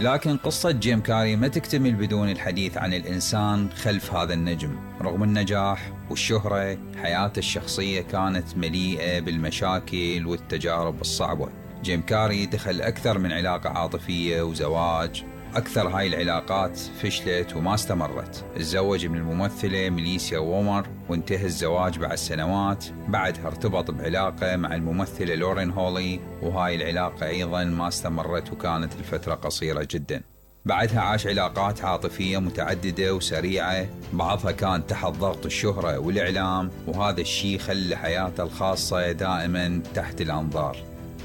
لكن قصة جيم كاري ما تكتمل بدون الحديث عن الإنسان خلف هذا النجم. رغم النجاح والشهرة، حياته الشخصية كانت مليئة بالمشاكل والتجارب الصعبة. جيم كاري دخل أكثر من علاقة عاطفية وزواج، أكثر هاي العلاقات فشلت وما استمرت. تزوج من الممثلة ميليسيا وومر وانتهى الزواج بعد سنوات. بعدها ارتبط بعلاقة مع الممثلة لورين هولي، وهاي العلاقة أيضا ما استمرت وكانت الفترة قصيرة جدا. بعدها عاش علاقات عاطفية متعددة وسريعة، بعضها كان تحت ضغط الشهرة والإعلام، وهذا الشيء خلى حياته الخاصة دائما تحت الأنظار.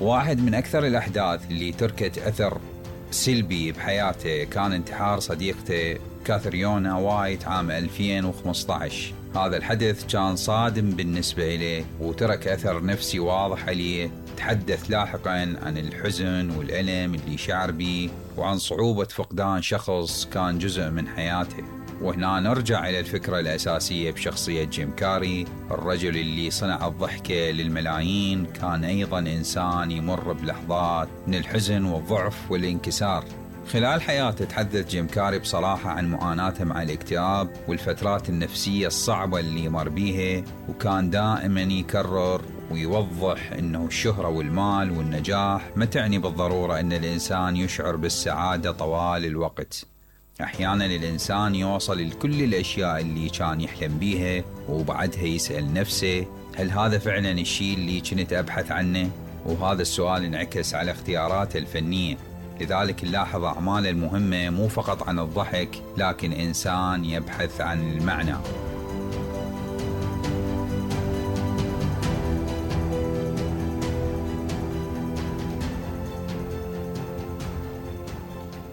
واحد من أكثر الأحداث اللي تركت أثر سلبي بحياته كان انتحار صديقته كاثريونا وايت عام 2015. هذا الحدث كان صادم بالنسبة إليه وترك أثر نفسي واضح عليه. تحدث لاحقا عن الحزن والألم اللي شعر به وعن صعوبة فقدان شخص كان جزء من حياته. وهنا نرجع إلى الفكرة الأساسية بشخصية جيم كاري. الرجل اللي صنع الضحكة للملايين كان أيضا إنسان يمر بلحظات من الحزن والضعف والانكسار. خلال حياته تحدث جيم كاري بصراحة عن معاناته مع الاكتئاب والفترات النفسية الصعبة اللي مر بيها، وكان دائما يكرر ويوضح أنه الشهرة والمال والنجاح ما تعني بالضرورة أن الإنسان يشعر بالسعادة طوال الوقت. أحيانا الإنسان يوصل لكل الأشياء اللي كان يحلم بيها وبعدها يسأل نفسه هل هذا فعلا الشيء اللي كنت أبحث عنه؟ وهذا السؤال انعكس على اختياراته الفنية. لذلك نلاحظ أعماله المهمة مو فقط عن الضحك، لكن إنسان يبحث عن المعنى.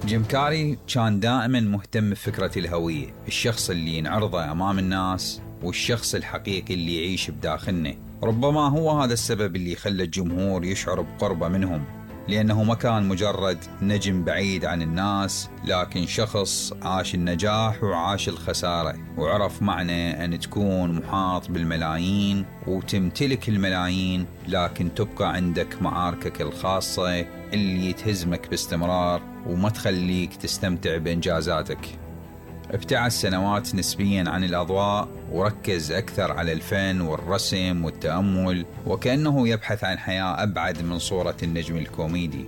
جيم كاري كان دائما مهتم بفكرة الهوية، الشخص اللي ينعرضه أمام الناس والشخص الحقيقي اللي يعيش بداخلنا. ربما هو هذا السبب اللي خلى الجمهور يشعر بقربه منهم، لأنه ما كان مجرد نجم بعيد عن الناس، لكن شخص عاش النجاح وعاش الخسارة، وعرف معنى أن تكون محاط بالملايين وتمتلك الملايين لكن تبقى عندك معاركك الخاصة اللي تهزمك باستمرار وما تخليك تستمتع بإنجازاتك. ابتعد سنوات نسبيا عن الأضواء وركز أكثر على الفن والرسم والتأمل، وكأنه يبحث عن حياة أبعد من صورة النجم الكوميدي.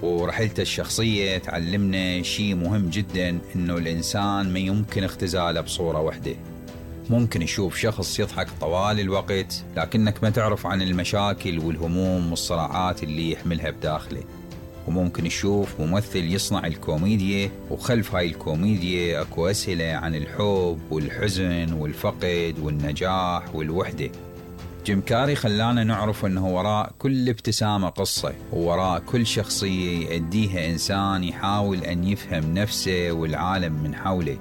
ورحلته الشخصية تعلمنا شيء مهم جدا، إنه الإنسان ما يمكن اختزاله بصورة واحدة. ممكن يشوف شخص يضحك طوال الوقت لكنك ما تعرف عن المشاكل والهموم والصراعات اللي يحملها بداخله. وممكن يشوف ممثل يصنع الكوميديا وخلف هاي الكوميديا اكو أسئلة عن الحب والحزن والفقد والنجاح والوحدة. جيم كاري خلانا نعرف انه وراء كل ابتسامة قصة، ووراء كل شخصية يأديها إنسان يحاول أن يفهم نفسه والعالم من حوله.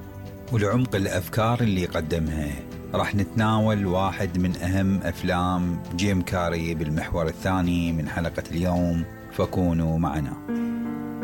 ولعمق الأفكار اللي قدمها راح نتناول واحد من أهم أفلام جيم كاري بالمحور الثاني من حلقة اليوم، فكونوا معنا.